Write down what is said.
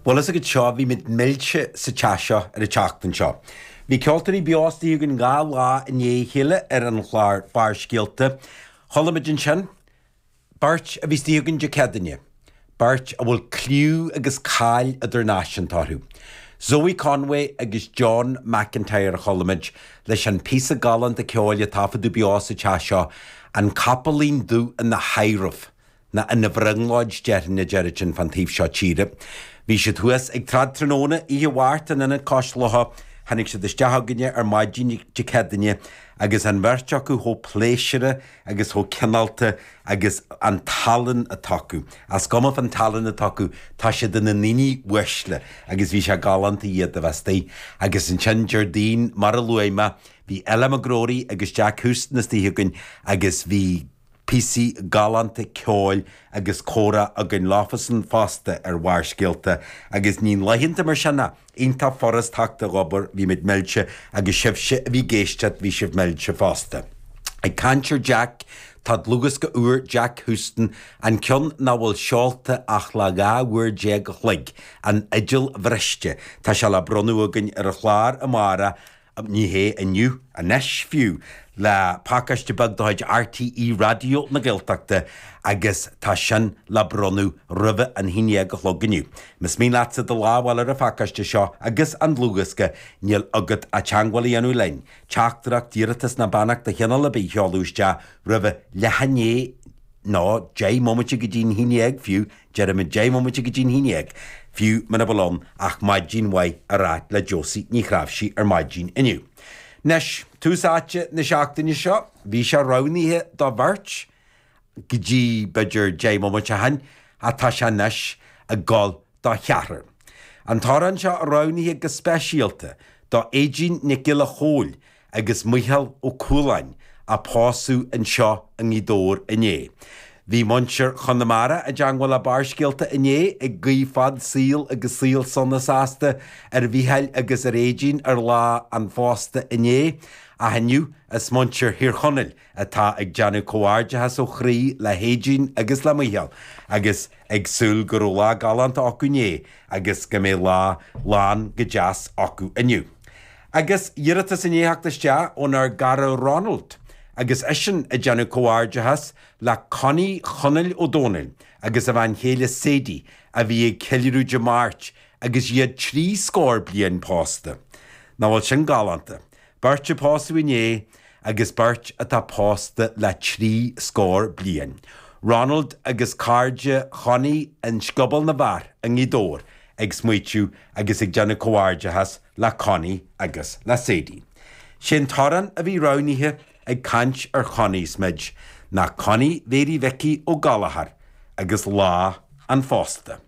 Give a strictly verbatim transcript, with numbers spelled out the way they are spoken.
Bhuel is agat seo, bhí muid millte sa teach seo ar an tseachtain seo. Bhí ceoltóirí beo istigh againn dhá lá i ndiaidh a chéile ar an chlár Barrscéalta. Chuala muid ansin beirt a bhí istigh againn Dé Céadaoine, beirt a bhfuil cliú agus cáil idirnáisiúnta orthu. Zoe Conway agus John McIntyre a chuala muid leis an píosa galánta ceoil a taifeadadh beo sa teach seo, An Capaillín Dubh ina Thaidhreamh. Nó ina bhrionglóid déarfainn a deirid sin fán taobh seo tíre. Bhí siad thuas ag tráthnóna oíche Mháirt in Ionad Cois Locha, tháinig siad isteach chugainne ar maidin Dé Céadaoine agus an bheirt acu chomh pléisiúrtha agus chomh cineálta agus an tallann atá acu. Is cuma fán tallann atá acu, tá siad ina ndaoine uaisle agus bhí sé galánta iad a bheith istigh. Agus ansin Déardaoin, mar a luaigh mé, bhí Ella McGrory agus Jack Houston istigh againn agus bhí píosaí galánta ceoil agus comhrá againn leofasan fosta ar Bharrscéalta agus ní laethanta mar sin ach iontach furast teacht ag obair, bhí muid millte agus sibhse a bhí ag éisteacht, bhí sibh millte fosta. Ag caint ar Jack, tá dlúthdhiosca úr Jack Houston, an ceann nach bhfuil seolta ach le dhá uair déag a chloig, An Fhidil Bhriste, tá sé le bronnadh againn ar an chlár amárach, ní hé inniu, anois fiú, le pacáiste beag de chuid RTÉ Raidió na Gaeltachta agus tá sin le bronnadh roimhe an haon déag a chlog inniu. Más mian leatsa do lámh a fháil ar an phacáiste seo agus an dlúthdhiosca, níl agat ach teagmháil a dhéanamh linn, teachtaireacht, iarratas ná beannacht de chineál ar bith a sheoladh isteach roimhe leath i ndiaidh nó deich mbomaite go dtí'n haon dhéag fiú, deirimid deich mbomaite go dtí'n haon dhéag, fiú muna bhfuil ann ach maidin mhaith a rá le Josie Ní Chnáimhsí ar maidin inniu. Anois, tús áite na seachtaine seo, bhí sé roghnaithe do bheirt go dtí b'fhéidir deich mbomaite ó shin, ach tá sé anois ag gabháil do cheathrar. An t-amhrán seo roghnaithe go speisialta do Aedín Nic Giolla Chóill agus Micheál Ó Cualáin a pósadh anseo i nGaoth Dobhair inné. Bhí muintir Chonamara i dteangmháil le Barrscéalta inné ag guí fad saoil agus saol sona sásta ar Mhícheál agus ar Aedín ar lá an phósta inné, ach inniu is muintir Thír Chonaill atá ag déanamh comhghairdeachas ó chroí le hAedín agus le Micheál agus ag súil go raibh lá galánta acu inné agus go mbeidh lá lán go deas acu inniu. Agus iarratas i ndiaidh theacht isteach ónár gcara Ronald agus eisean ag déanamh comhghairdeachas le Connie Chonaill Ó Dónaill agus a bhean chéile Sadie a bhí ag ceiliúradh Dé Máirt agus iad trí scór bliain pósta. Nach bhfuil sin galánta. Beirt a pósadh inné agus beirt atá pósta le trí scór bliain. Ronald agus cairde Chonnie in Scioból na bhFear i nGaoth Dobhair ag smaoitiú agus ag déanamh comhghairdeachas le Connie agus le Sadie. Sé'n t-amhrán a bhí roghnaithe ag caint ar Chonnies muid ná Connie Mhéirí Mhicí Ó Gallchóir agus Lá an Phósta.